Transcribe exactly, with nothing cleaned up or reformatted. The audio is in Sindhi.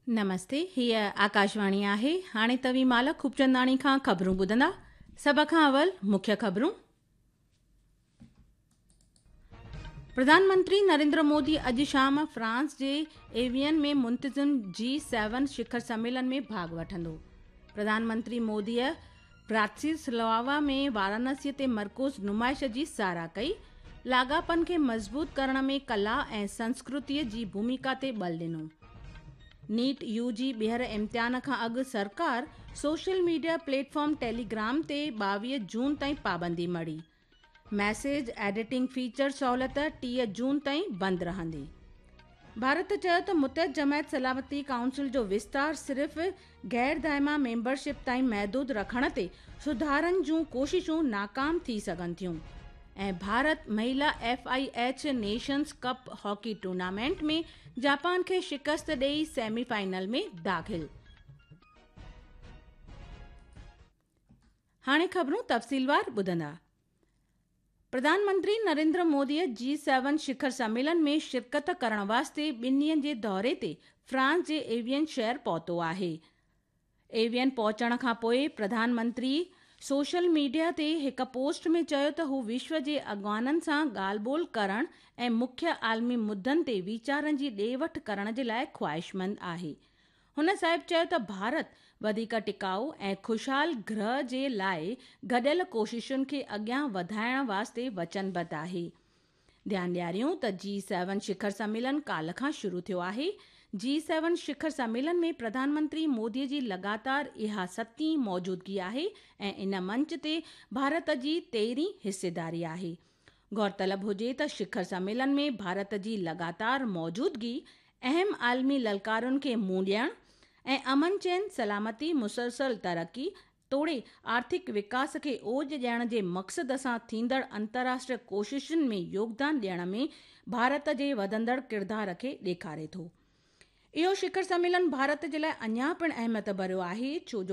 نمستي، هيءَ آڪاشواڻي آهي. هاڻي توهين مالا خوبچنداڻي کان خبرون ٻڌندا. سڀ کان اول مکيه خبرون. پرڌان منتري نريندر مودي اڄ شام فرانس جي ايوين ۾ منتظم جي سيون شکر سميلن ۾ ڀاڳ وٺندو. پرڌان منتري موديء براتسلاوا ۾ وارانسيءَ تي مرڪوز نمائش جي ساراهه ڪئي. لاڳاپن کي مضبوط ڪرڻ ۾ ڪلا ۽ سنسڪرتيءَ جي ڀومڪا تي ٻل ڏنو. نيٽ يو جي ٻيهر امتحان کان اڳ سرڪار social media plate form Telegram تي ٻاويهه جون تائين پابندي مڙهي. ميسيج ايڊيٽنگ فيچر سهولت ٽيهه جون تائين بند رهندي. ڀارت چيو ته متحده جماعت سلامتي ڪائونسل جو وستار صرف غير دائمي ميمبرشپ تائين محدود رکڻ تي سڌارن جون ڪوششون ناڪام ٿي سگهن ٿيون. ۽ Bharat مهلا F I H Nations Cup hockey tournament ۾ Japan کي شڪست ڏيئي سيمي فائنل ۾ داخل. هاڻي خبرون تفصيلوار ٻڌندا. پرڌان منتري نريندر موديءَ جي سيون شکر سميلن ۾ شرڪت ڪرڻ واسطي ٻن ڏينهن جي دوري تي فرانس جي ايوين شهر پهتو آهي. ايوين پهچڻ کان پوءِ پرڌان منتري سوشل ميڊيا تي هڪ پوسٽ ۾ چيو ته هو وشو جي اڳواڻن سان ڳالهه ٻولهه ڪرڻ ۽ مکيه عالمي مدعن تي ويچارن جي ڏي وٺ ڪرڻ جي لاءِ خواهشمند آهي. هن صاحب چيو ته ڀارت وڌيڪ ٽڪائو ۽ خوشحال گرهه جي لاءِ گڏيل ڪوششن کي اڳيان وڌائڻ واسطي وچنبڌ آهي. ڌيان ڏياريون ته جي سيون شکر سميلن ڪالهه کان شروع ٿيو آهي. جي سيون شکر سميلن ۾ پرڌان منتري موديءَ جي لڳاتار اها ستين موجودگي آهي ۽ ان منچ تي ڀارت جي تيرهين حصيداري آهي. غور طلب هجي ته شکر سميلن ۾ ڀارت جي لڳاتار موجودگي اهم عالمي للڪارن کي منهن ڏيڻ ۽ امن چين، سلامتي، مسلسل ترقي توڙي آرٿڪ وڪاس کي اوج ڏيڻ جي مقصد سان ٿيندڙ انترراشٽريه ڪوششن ۾ يوگدان ڏيڻ ۾ ڀارت جي وڌندڙ ڪردار کي ڏيکاري ٿو. اهو شکر سميلن ڀارت جي لاءِ اڃا پڻ اهميت ڀريو آهي ڇو جو